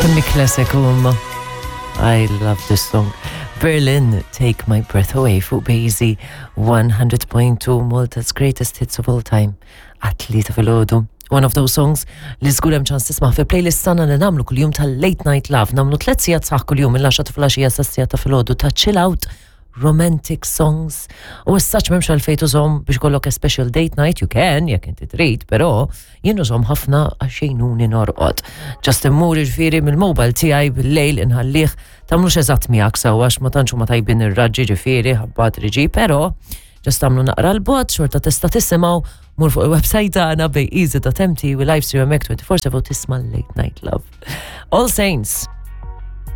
Kemm classic huma. I love this song. Berlin, Take My Breath Away fuq Bazy 100.2 Malta's greatest hits of all time. Atleta fil-ħodu. One of those songs li żgur hemm ċans tisma' fi playlist tagħna li nagħmlu kuljum tal-Late Night Love. Nagħmlu tliet sigħat sħaħ kuljum mill-10 ta' filgħaxija sas-siegħa ta' filgħodu ta' chill out romantic songs. U as such m'hemmx għalfejn tużhom biex kollok a special date night, you can, jekk inti trid, però jien użhom ħafna għax jgħinuni norqod. Just immur ġifieri mill-mobile tiegħi bil-lejl inħallih tagħmlux eżatt miegħek sewwa għax ma tantx huma tajbin ir-raġġi ġifieri ħabba triġi, però just tagħmlu naqra l-bot xorta tista' tisimgħu mur fuq il-website tagħna bayeasy.mt u live stream hemmhekk 24/7 tisma' Late Night Love. All Saints.